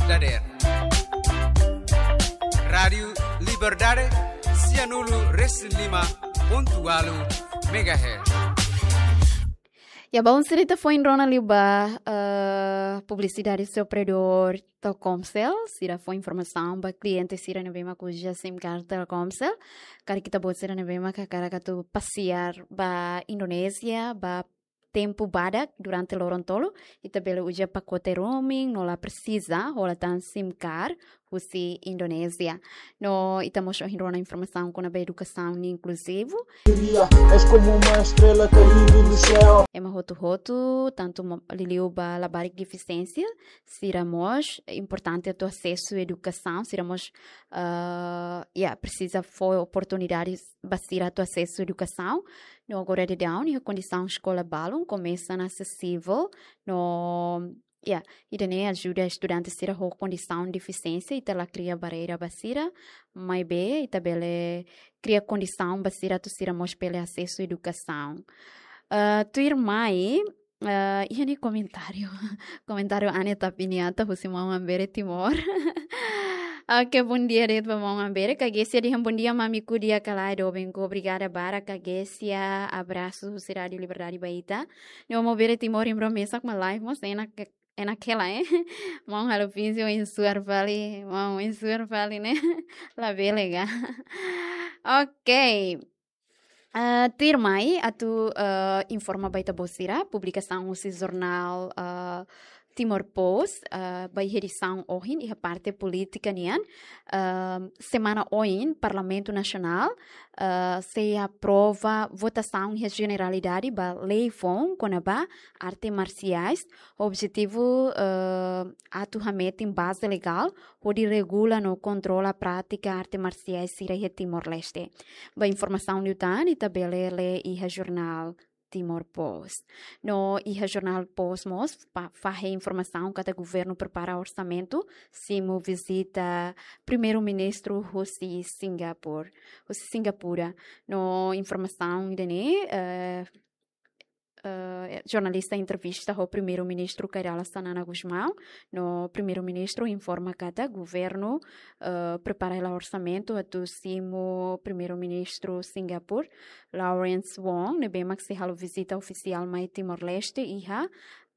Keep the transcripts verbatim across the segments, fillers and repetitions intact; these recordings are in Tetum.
Dader. Rádiu Liberdade, sianulu resin lima pontu ualu megahertz. Ya, bom, sira ita foin rona liu ba, eh, publisidade husi operadór Telkomcel, sira fó informasaun ba kliente sira ne'ebé mak uza SIM card Telkomcel. Karik ita-boot sira ne'ebé mak hakarak atu pasiar ba Indonézia, ba tempu badak durante loron tolu, ita bele uza pakote roaming, no la presiza hola tan SIM card husi Indonézia. No ita mós ohin rona informasaun kona-ba edukasaun inkluzivu. Brilha, és como uma estrela caindo do céu. Ema hotu-hotu, tantu mo-, liuliu ba labarik defisiénsia, sira mós importante atu asesu edukasaun, sira mós, ah, ya, presiza fó oportunidades ba sira atu asesu edukasaun. No agora daudaun, iha kondisaun eskola balun, komesa ona asesivel, no, ya, ida-ne'e ajuda estudante sira ho kondisaun defisiénsia, ita la kria barreira ba sira, maibé ita bele kria kondisaun ba sira atu sira mós bele asesu edukasaun. Ah, tuirmai, ah, iha ne'e komentáriu. Komentáriu Ane Tapiniata husi maun Ambere Timor. Oke, bondia de'it ba maun Ambere. Kagesia dehan bondia mamiku, di'ak ka lae, doben ka? Obrigada barak, kagesia. Abrasu husi Rádiu Liberdade ba ita. No maun Ambere Timor, imbra mesak mak live mós enak, enak hela, eh. Maun halo vídeo insuar fali, maun insuar fali ne'e. Labele ka. Oke. Ah, tuirmai atu, ah, informa ba ita-boot sira, publikasaun husi jornál, ah, Timor Post, ah, ba iha edisaun ohin, iha parte polítika nian, ah, semana oin, Parlamentu Nasionál, ah, sei aprova votasaun iha jeneralidade ba lei foun kona-ba arte marsiais, objetivu, ah, atu hametin baze legál hodi regula no kontrola prátika arte marsiais sira iha Timor-Leste. Ba informasaun liután, ita bele lee iha jornál Timor Post. No iha jornál Post mós, pa-, fahe informasaun katak governu prepara orsamentu, simu vizita Primeiru-Ministru husi Singapura, husi Singapura. No informasaun ida-ne'e, eh, eh, jornalista entrevista ho Primeiru-Ministru Kay Rala Xanana Gusmão, no Primeiru-Ministru informa katak governu, eh, prepara hela orsamentu atu simu Primeiru-Ministru Singapura, Lawrence Wong, ne'ebé mak sei halo vizita ofisiál mai Timor-Leste iha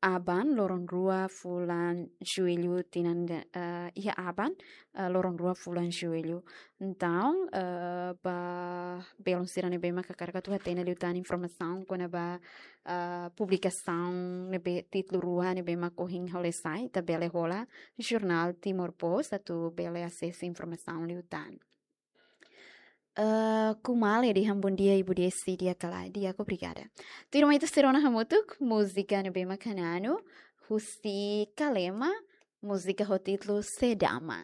aban loron rua fulan Jullu tinan de-, eh, iha aban, eh, loron rua fulan Jullu. Entaun, eh, ba belun sira ne'ebé mak hakarak atu hatene liután informasaun kona-ba, eh, publikasaun ne'ebé títulu rua ne'ebé mak ohin halo sai, ita bele hola jornál Timor Post atu bele asesu informasaun liután. Eh, Kumale dehan bondia Ibu Desi, di'ak ka lae, di'ak, obrigada. Tuirmai ita sei rona hamutuk múzika ne'ebé mak hananu, husi Kalema, múzika ho títulu Sedama.